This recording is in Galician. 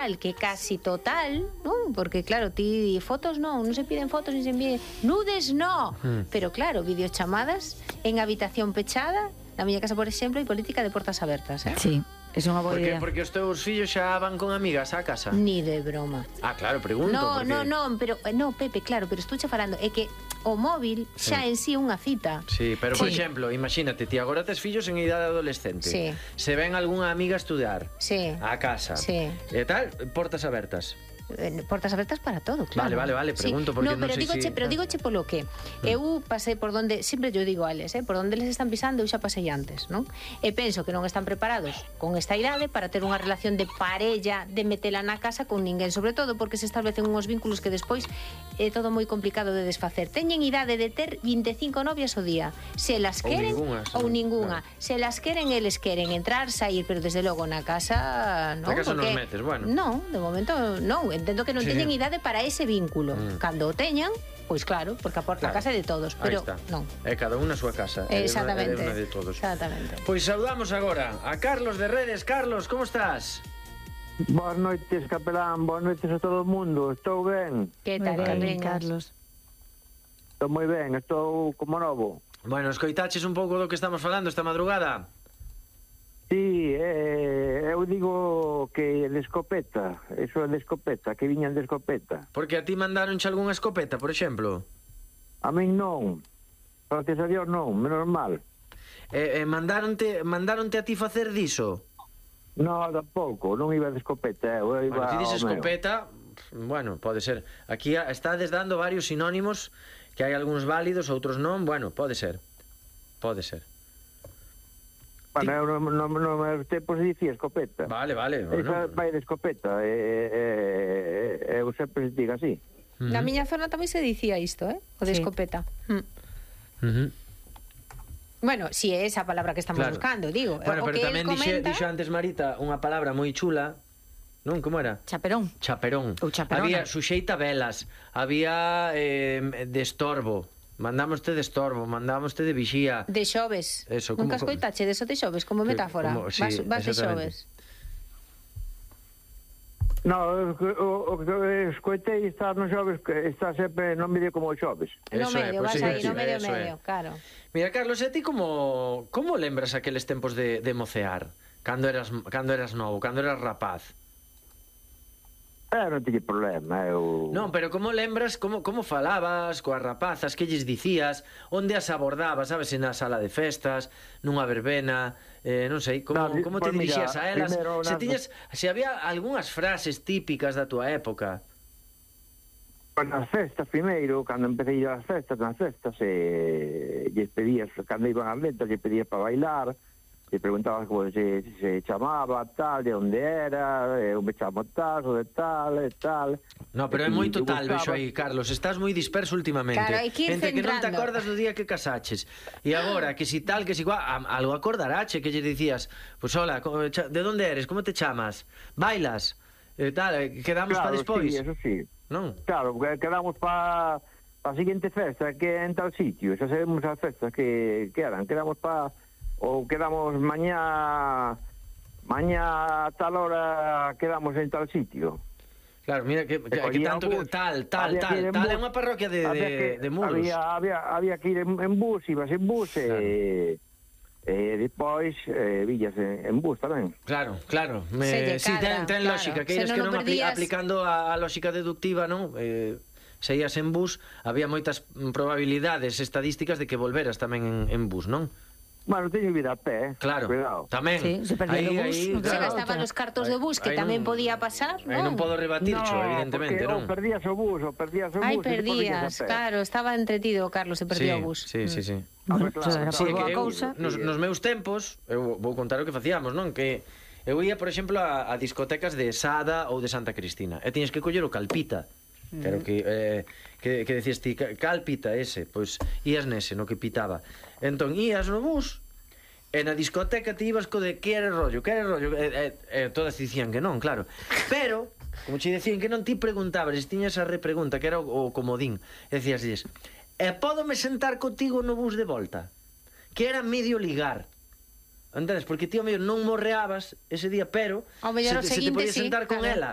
que casi total, non? Porque claro, ti fotos non se piden fotos ni se envíen nudes, no. Pero claro, videochamadas en habitación pechada, na miña casa, por exemplo, hai política de portas abertas, Sí, é unha boa idea. Porque os teus fillos xa van con amigas á casa. Ni de broma. Ah, claro, pregunto. No, porque... pero Pepe, claro, pero estou xa falando, é que o móvil xa en sí é unha cita. Sí, pero por exemplo, imagínate, ti agora tes fillos en idade adolescente. Sí. Se ven algunha amiga a estudiar á casa. Sí. E tal, portas abertas. Portas abertas para todo, claro. Vale, pregunto porque non sei se... Pero digoche polo que eu pasei por donde, sempre yo digo a eles, por donde eles están pisando eu xa pasei antes, non? E penso que non están preparados con esta idade para ter unha relación de parella, de metela na casa con ninguén, sobre todo porque se establecen uns vínculos que despois é todo moi complicado de desfacer. Teñen idade de ter 25 novias ao día. Se las queren ou ningunha. Se las queren, eles queren entrar, sair, pero desde logo na casa, non? Na casa non metes, bueno. Non, de momento non. Entendo que non teñen idade para ese vínculo. Cando o teñan, pois claro, porque a porta a casa é de todos, pero non. É cada unha a súa casa. Exactamente. É unha de todos. Exactamente. Pois saudamos agora a Carlos de Redes. Carlos, como estás? Boas noites, capelán, boas noites a todo o mundo. Estou ben. Que tal, Carlos? Estou moi ben, estou como novo. Bueno, escoitaches un pouco do que estamos falando esta madrugada? Sí, eu digo que de escopeta, eso é de escopeta, que viñan de escopeta. Porque a ti mandaronche algunha escopeta, por exemplo? A min non, gracias a Dios non, menos mal. Mandaronte a ti facer diso? Non, tampouco, non iba de escopeta, eu iba ti dices escopeta, bueno, pode ser. Aquí estades dando varios sinónimos, que hai algúns válidos, outros non, bueno, pode ser. Pode ser. Bueno, eu no meus tempos dicía escopeta. Vale. Esa vai de escopeta, eu sempre digo así. Na miña zona tamén se dicía isto, o de escopeta. Bueno, si é esa palabra que estamos buscando, digo. Bueno, pero tamén dixo antes Marita unha palabra moi chula, non? Como era? Chaperón. Ou chaperona. Había suxeita velas, había de estorbo. Mandámoste de estorbo, mandámoste de vixía. De xoves. Eso, nunca escoitache de eso de xoves, como metáfora. Vas de xoves. No, o que escoitei estar no xoves, está sempre no medio como xoves. No medio, vas aí, no medio, claro. Mira, Carlos, e ti como lembras aqueles tempos de mocear? Cando eras novo, cando eras rapaz? Non tiñe problema, eu... Non, pero como lembras, como falabas coas rapazas, que lles dicías, onde as abordabas, sabes, na sala de festas, nunha verbena, non sei, como te dirixías a elas, se había algunhas frases típicas da tua época. Nas festas, primeiro, cando empecé a ir ás festas, lles pedías, cando iban ás lentas, lles pedías para bailar, te preguntabas como se chamaba, tal, de onde era, eu me chamo tal, o de tal, e tal. No, pero é moito tal, vexo aí, Carlos, estás moi disperso últimamente. Claro, hai que ir entre que non te centrando. acordas do día que casaches. E agora, que si tal, que si cual, algo acordarache, que lle dicías, pues hola, de onde eres, como te chamas, bailas, tal, quedamos para despois. Sí, eso sí. Non? Claro, quedamos para a seguinte festa, que é en tal sitio, xa sabemos as festas que eran, quedamos para... ou quedamos mañá a tal hora quedamos en tal sitio. Claro, mira que tanto que tal é unha parroquia de Muros. Había que ir en bus, ibas en bus e depois villas en bus tamén. Claro. Si, ten lógica, que eres que non aplicando a lógica deductiva, non? Se ias en bus, había moitas probabilidades estadísticas de que volveras tamén en bus, non? Bueno, teño vida a pé, claro, cuidado. Tamén. Sí, se perdía o bus. Se gastaban os cartos de bus, que tamén podía pasar, non? Aí non podo rebatircho, evidentemente, non? Perdías o bus. Ai, perdías, claro, estaba entretido Carlos, se perdía o bus. Sí. Claro. Nos meus tempos, eu vou contar o que facíamos, non? Que eu ia, por exemplo, a discotecas de Sada ou de Santa Cristina, e tiñes que coller o Calpita. Claro que decías ti, Calpita ese, pois ías nese, no que pitaba. Entón ías no bus e na discoteca te ibas co de que era rollo, todas dicían que non, claro. Pero, como che dicían que non, ti preguntabas, tiñas a repregunta, que era o comodín, e decías, e pódome sentar contigo no bus de volta? Que era medio ligar. Entendes? Porque ti ao mellor non morreabas ese día, pero Ao mellor o se te seguinte, podías sí, sentar con claro. ela